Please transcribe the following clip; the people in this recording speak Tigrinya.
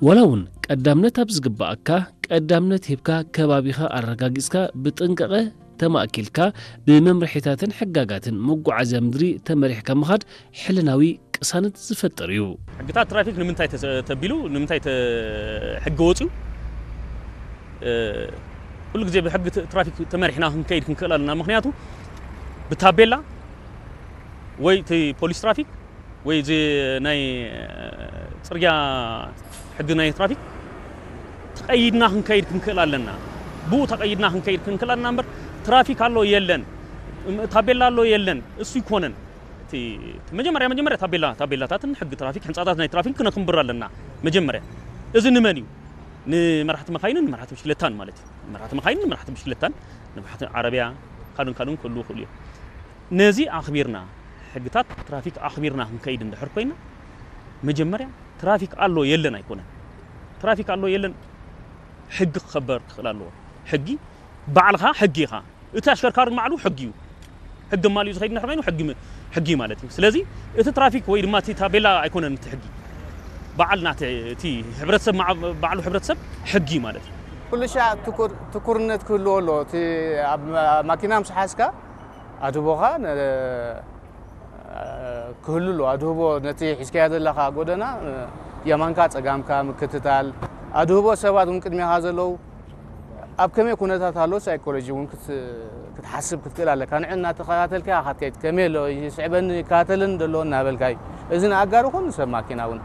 ዋላ እውን ቀዳምነት ኣብ ዝግባኣካ ቀዳምነት ሂብካ፣ ከባቢኻ ኣረጋጊጽካ፣ ብጥንቃቐ ተማእኪልካ፣ ብመምርሒታትን ሕጋጋትን መጓዓዝያ ምድሪ ተመሪሕካ ምኻድ ሕልናዊ ቅሳነት ዝፈጥር እዩ። ሕግታት ትራፊክ ንምንታይ ተሰ-፣ ተቢሉ፣ ንምንታይ ተ-፣ ሕጊ ወፅዩ? እ፣ ኩሉ ግዜ ብሕጊ ት-፣ ትራፊክ ተመሪሕና ክንከይድ ክንክእል ኣለና። ምኽንያቱ ብታቤላ ወይ እቲ ፖሊስ ትራፊክ ወይ እዚ ናይ፣ እ፣ ፅርግያ ሕጊ ናይ ትራፊክ ተቐይድና ክንከይድ ክንክእል ኣለና። ብኡ ተቐይድና ክንከይድ ክንክእል ኣለና እምበር ትራፊክ ኣሎ የለን፣ እም፣ ታቤላ ኣሎ የለን፣ እሱ ይኮነን። እቲ መጀመርያ፣ መጀመርያ ታቤላ፣ ታቤላታትን ሕጊ ትራፊክ፣ ሕንጻታት ናይ ትራፊክ ክነኽንብር ኣለና። መጀመርያ እዚ ንመን እዩ? ንመራሕቲ መካይንን ንመራሕቲ ብሽክለታን ማለት እዩ። ንመራሕቲ መካይንን ንመራሕቲ ብሽክለታን፣ ንመራሕቲ ዓረብያ፣ ካልኡን ካልኡን ክህልዉ ይኽእሉ እዮም። ነዚ ኣኽቢርና፣ ሕግታት ትራፊክ ኣኽቢርና ክንከይድ እንድሕር ኮይና፣ መጀመርያ ትራፊክ ኣሎ የለን ኣይኮነን። ትራፊክ ኣሎ የለን፣ ሕጊ ክኸበር ክኽእል ኣለዎ። ሕጊ፣ ባዕልኻ ሕጊ ኢኻ። እቲ ኣሽከርካሪ ባዕሉ ሕጊ እዩ። ሕጊ ማልዩ ዝኸይድ እንድሕር ኮይኑ ሕጊ ም-፣ ሕጊ ማለት እዩ። ስለዚ እቲ ትራፊክ ወይ ድማ እቲ ታቤላ ኣይኮነን እቲ ሕጊ። በዓል ናቲ፣ እቲ ሕብረተሰብ መዓ-፣ ባዕሉ ሕብረተሰብ ሕጊ ማለት እዩ። ኩሉ ሻዕ ትኩር-፣ ትኩርነት ክህልዎ ኣለዎ። እቲ ኣብ ማ-፣ ማኪና ምስ ሓዝካ ኣድህቦኻ ነ-፣ ክህሉ ኣለዎ። ኣድህቦ ነቲ ሒዝካዮ ዘለኻ ጎደና፣ የማንካ ጸጋምካ ምክትታል፣ ኣድህቦ ሰባት እውን ቅድሜኻ ዘለዉ ኣብ ከመይ ኩነታት ኣሎ ሳይኮሎጂ እውን ክት-፣ ክትሓስብ ክትክእል ኣለካ። ንዕ እናተኸታተልካ ኢኻ ክትከይድ፣ ከመይ ኣሎ፣ ይስዕበኒ፣ ይከታተለኒ ዘሎ እናበልካ እዩ። እዚ ንኣጋር ይኹን ንሰብ ማኪና እውን።